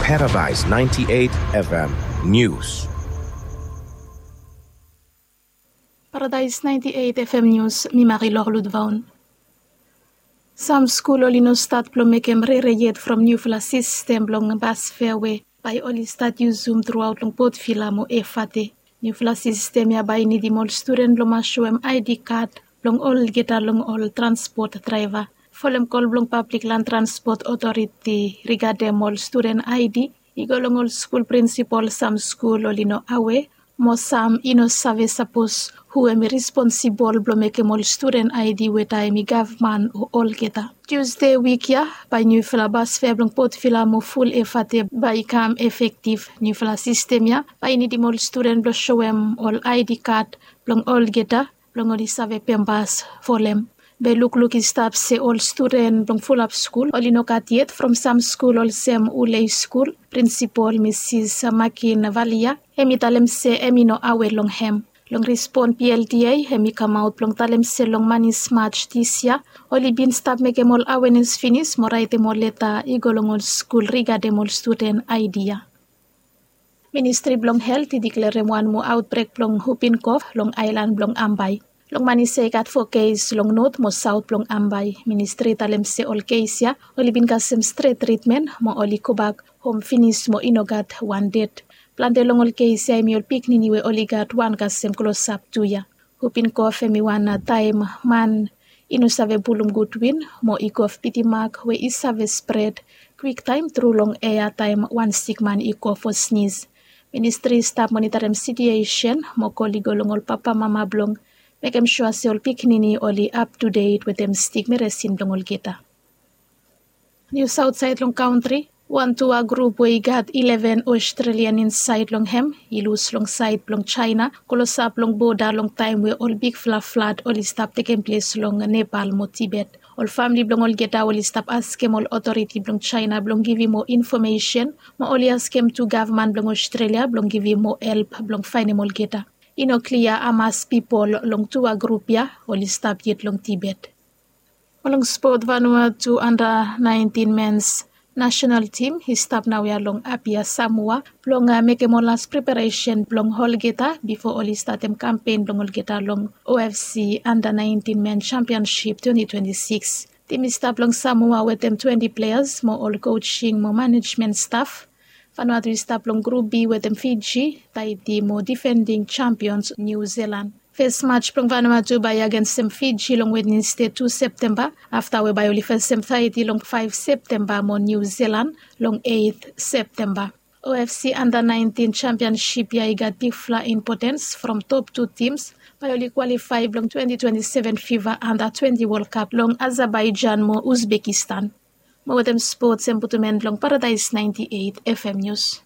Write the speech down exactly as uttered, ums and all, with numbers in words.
Paradise ninety-eight F M News. Paradise ninety-eight F M News, mi Marilor Ludvaun. Sam skul oli no stat blong mekem rere yet from niufala sistem blong bas fea we bae oli stat yusum truaot long Port Vila mo Efate. Niufala sistem ya bae i nidim ol studen blong mas soem I D kad blong olgeta long ol transpot draeva. Folem kol blong Pablik Lan Transpot Otoriti rigadem ol studen I D i go long ol skul prinsipol, sam skul oli no awe mo sam i no save sapos hu hem i responsibol blong mekem ol studen I D we taem i gavman o olgeta. Tusde wik ya bae niufala bas fea blong Port Vila mo ful Efate bae i kam efektiv. Niufala sistem ya bae i nidim ol studen blong soem ol I D kad blong olgeta blong oli save pembas folem. Be lukluk i stap se ol studen blong fulap skul oli no gat yet from sam skul olsem Ulei skul. Prinsipol Misis Makin Valia hem i talem se hem i no awe long hem. Long respon P L D A hem i kamaot blong talem se long manis Maj dis yia oli bin stap mekem ol awenes finis mo raetem ol leta i go long ol skul rigadem ol studen I D ya. Ministri blong Helt i diklerem wan moa aotbrek blong hupin kof long aelan blong Ambae. Long manis ya i gat fo kes long not mo saot blong Ambae. Ministri i talem se ol kes ya oli bin kasem stret tritmen mo oli gobak hom finis mo i no gat wan ded. Plante long ol kes ya hem i ol pikinini we oli gat wan kasem klosap tu yia. Hupin kof hem i wan taem man i no save pulum gud win mo i kof bitimak we i save spred kwiktaem tru long ea taem wan sikman i kof o snis. Ministri i stap monitarem sitiesen mo kol i go long ol papamama blong mekem sua se ol pikinini oli aptudet wetem stik meresin blong olgeta. Nius aotsaed long kantri. Wan tua grup we i gat ileven Australian insaed long hem i lus long saed blong Jaena klosap long boda long taem we ol bigfala flad oli stap tekem ples long Nepal mo Tibet. Ol famle blong olgeta oli stap askem ol otoriti blong Jaena blong givim moa infomesen mo oli askem tu gavman blong Australia blong givim moa help blong faenem olgeta. I no klia hamas pipol long tua grup ya oli stap yet long Tibet. Mo long spot, Vanuatu anda naentin mens nasenal tim i stap naoia long Apia, Samoa blong mekem ol las preparesen blong olgeta bifo oli statem kampen blong olgeta long O F C anda naentin men sampionsip twenti twenti sikis. Tim i stap long Samoa wetem twenti pleas mo ol kosing mo manejmen staf. Vanuatu i stap long grup B wetem Fiji, Taiti mo difending sampions Niu Silan. Fes maj blong Vanuatu bae i agensem Fiji long Wednesde tu Septemba afta we bae oli fesem Taiti long faef Septemba mo Niu Silan long eit Septemba. O F C anda naentin sampionsip ya i gat bigfala impotens from top tu tims bae oli kwalifae blong twenti twenti seven fifa anda twenti Wol Kap long Azerbaijan mo Uzbekistan. Mo wetem spots hem putum en blong Paradaes naenti eit F M Nius.